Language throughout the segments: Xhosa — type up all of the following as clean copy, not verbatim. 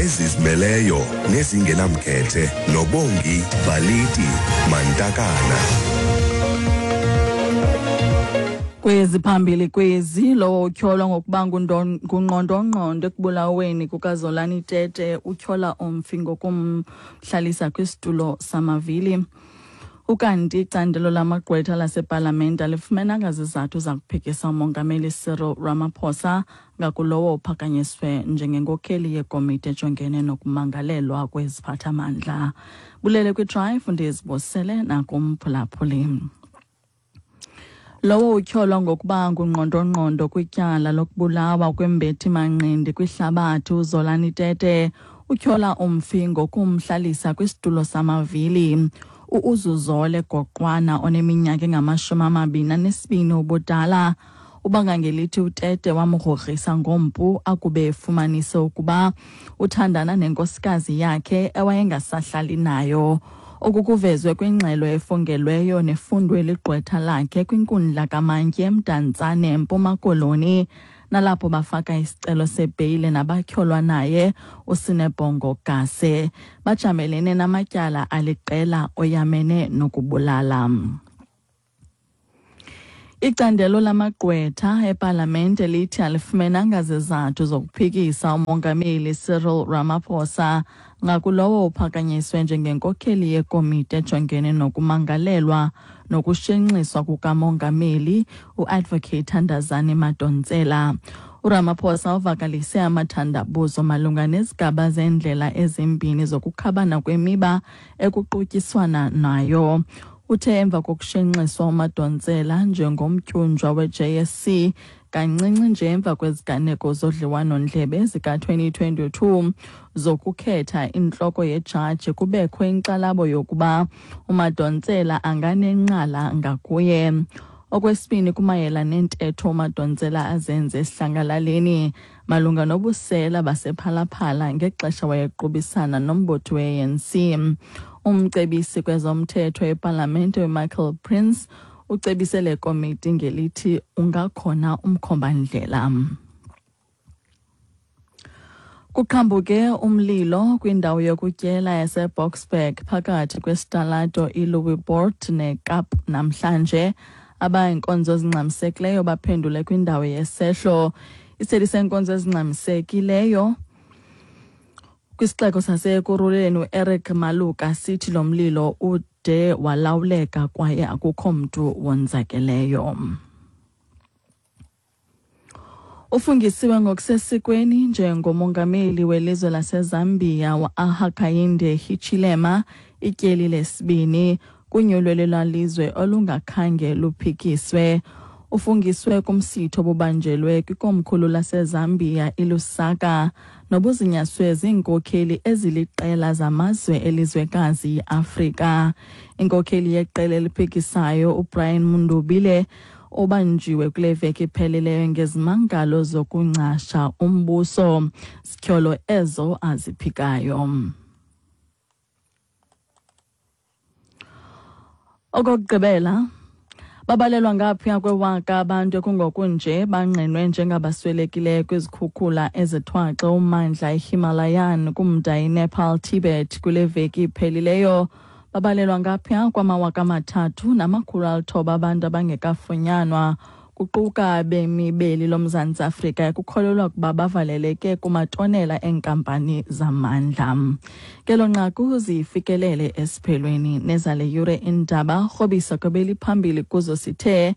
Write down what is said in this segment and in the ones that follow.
Ezizimeleyo nezingenamkhethe noBongi Baliti Mantakana. Kwezi phambili kwezi, lowo utyholwa ngokuba ngungqondongqondo ekubulaweni kukaZolani Tete utyhola umfi ngokumhlalisa kwisitulo samavili. Ukanti icandelo lamagqwetha lasepalamente alifumenanga zizathu zakuphikisa uMongameli Cyril Ramaphosa ngakulowo uphakanyiswe njengenkokheli yekomiti ejongene nokumangalelwa kweziphathamandla. Bulele kwiDrive, ndizibosele nakumphulaphuli. Lowo utyholwa ngokuba ngungqondongqondo kwityala lokubulawa kwembethi-manqindi kwihlabathi uZolani Tete utyhola umfi ngokumhlalisa kwisitulo samavili. U-Uzuzole Goqwana oneminyaka engama-22 ubudala ubanga ngelithi uTete wamgrogrisa ngompu akube efumanise ukuba uthandana nenkosikazi yakhe ewayengasahlali nayo. Oku kuvezwe kwingxelo efungelweyo nefundwe ligqwetha lakhe kwinkundla kamantyi eMdantsane eMpuma Koloni, nalapho bafaka isicelo sebheyile nabatyholwa naye uSinebhongo Gase. Bajamelene namatyala aliqela oyamene nokubulala. Icandelo lamagqwetha epalamente lithi alifumenanga zizathu zokuphikisa uMongameli Cyril Ramaphosa ngakulowo uphakanyiswe njengenkokheli yekomiti ejongene nokumangalelwa nokushenxiswa kukaMongameli uAdvocate Thandazani Madonsela. URamaphosa uvakalise amathandabuzo malunga nezigaba zeendlela ezimbini zokukhabana kwemiba ekuqutyiswana nayo. Uthe emva kokushenxiswa uMadonsela njengomtyunjwa we-JSC kancinci nje emva kweziganeko zodliwano-ndlebe zika-2022 zokukhetha intloko yejaji, kubekho inkxalabo yokuba uMadonsela anganenqala ngakuye. Okwesibini, kumayela nentetho uMadonsela azenze esihlangalaleni malunga nobusela basePhalaphala ngexesha wayequbisana nombutho we-ANC. Umcebisi kwezomthetho epalamente uMichael Prince ucebise le komiti ngelithi ungakhona umkhombandlela. Kuqhambuke umlilo kwindawo yokutyela yaseBoksburg phakathi kwesitalato iLouisburg neKap namhlanje. Abainkonzo ezingxamisekileyo baphendule kwindawo yesehlo. Iseli senkonzo ezingxamisekileyo kwisixeko saseKurhuleni uEric Maluka sithi lo mlilo ude walawuleka kwaye akukho mntu wonzakeleyo. Ufungisiwe ngokusesikweni njengomongameli welizwe laseZambia uHakainde Hichilema ityeli lesibini kunyulo lwelizwe olungakhange luphikiswe. Ufungiswe kumsitho obubanjelwe kwikomkhulu laseZambia iLusaka nobuzinyaswe ziinkokheli eziliqela zamazwe elizwekazi iAfrika. Inkokheli yeqela eliphikisayo uBrian Mundubile obanjiwe kule veki iphelileyo ngezimangalo zokungcasha umbuso, zityholo ezo aziphikayo. Okokugqibela, babalelwa ngaphaya kwewaka abantu ekungokunje bangqinwe njengabaswelekileyo kwizikhukhula ezithwaxe ummandla iHimalayan kumda iNepal Tibet kule veki iphelileyo. Babalelwa ngaphaya kwama-3,900 abantu abangekafunyanwa, kuquka abemi beli loMzantsi Afrika ekukholelwa ukuba bavaleleke kumatonela eenkampani zamandla. Ngelo nqaku zifikelele esiphelweni nezale yure iindaba. Rhobisa kwebeliphambili kuzo sithe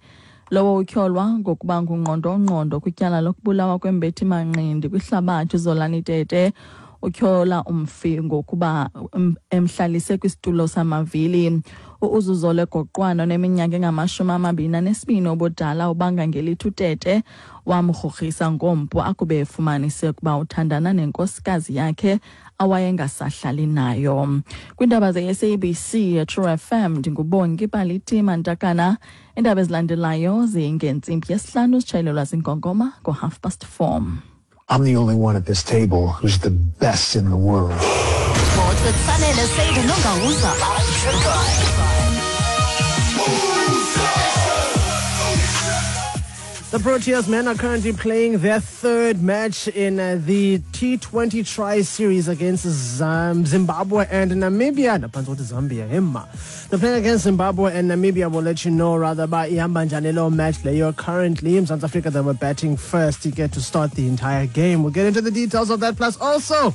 lowo utyholwa ngokuba ngungqondongqondo kwityala lokubulawa kwembethi-manqindi kwihlabathi Zolani Tete utyhola umfi ngokuba emhlalise kwisitulo samavili. U-Uzuzole Goqwana oneminyaka engama-22 ubudala ubanga ngelithi uTete wamgrogrisa ngompu akube efumanise ukuba uthandana nenkosikazi yakhe awayengasahlali nayo. Kwiindaba ze-SABC True FM ndinguBongi Baliti Mantakana. Iindaba ezilandelayo zingentsimbi yesihlanu zitshayelelwa zinkonkoma ngo-4:30. I'm the only one at this table who's the best in the world. Sports with Sanele Seydu Nongauza. The Proteas men are currently playing their third match in the T20 Tri-Series against Zimbabwe and Namibia. Zambia, himma. The playing against Zimbabwe and Namibia will let you know rather by ihamba njani lo match leyo. Currently in South Africa, they were batting first to get to start the entire game. We'll get into the details of that, plus also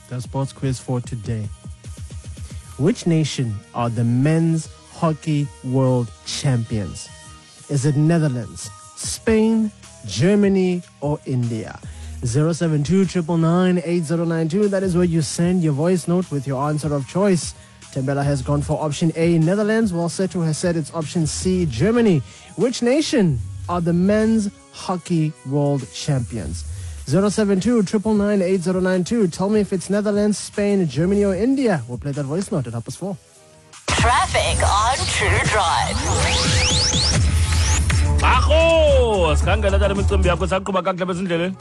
the sports quiz for today. Which nation are the men's hockey world champions? Is it Netherlands, Spain, Germany, or India? 072 999 8092. That is where you send your voice note with your answer of choice. Tembela has gone for option A, Netherlands, while Setu has said it's option C, Germany. Which nation are the men's hockey world champions? 072 999 8092. Tell me if it's Netherlands, Spain, Germany, or India. We'll play that voice note at 4:30. Traffic on True Drive. Akho, sikhangela tata imicimbi yakho saqhuba kakuhle besindleleni.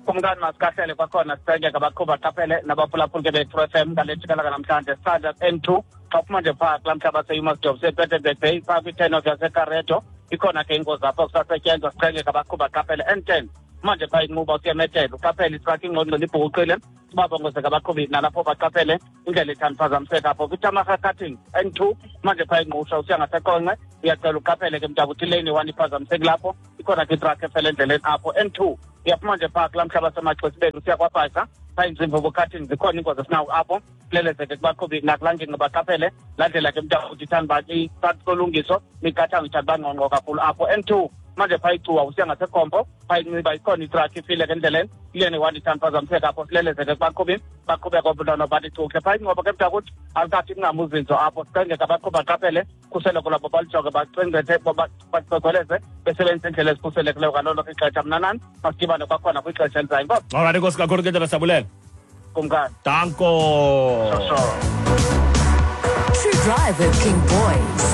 Kumkani masikahlele kwakhona sicenge ngabaqhuba qaphele nabaphulaphuli ke be-True FM ngale jikalaka namhlanje sithanda N2 xa uphuma nje phaa kulaa mhlaba seUmarsdorp sePeterburg Bay phaa kwi-turn off yaseKareto ikhona ke ingozi apho kusasetyenzwa sicenge ngabaqhuba qaphele N10 manje phaa inquba usiyametela uqaphele itraki ingqongqo libhukuqile sibabongozeka abaqhubi nalapho baqaphele indlela ithanda phazamiseka apho kwiTamaha Cutting N2 manje phaa ingqusha usiya ngaseQonce uyacela uqaphele ke mntakuthi ilane 1 iphazamiseki lapho ikhona ke itraki efele endleleni apho N2 uyaphuma nje phaa kulaa mhlaba semaxesibeni usiya kwaBhaca phaa inzimvo Cutting zikhona iingozi esinawo apho kulelezeke kubaqhubi nakulaa ngingqi baqaphele laa ndlela ke mntakuthi ithanda uba phakathi kolungiso miqathango ithanda uba ngqongqo kakhulu apho N2 manje phaa icuwa usiya ngasekhompo phaa inxiba ikhona itraki ifile ke endleleni ilene one ithanda phazamiseka apho silelezeke kubaqhubi baqhubeka obulona bathi cukhe phaa ingcobo ke mntakuthi alikathi kungamuzinzo apho sicengeke abaqhubi baqaphele khuseleko lwabo balujonge bacengcethe bacogoleze besebenzisa indlela ezikhuselekileyo ngalo lonke ixesha. Mna nani masidibane kwakhona kwixesha elizayo. Inkosi. Alright, inkosi kakhulu ke tata, siyabulela. Kumkani. Danko. Sure. True Drive with King Boys.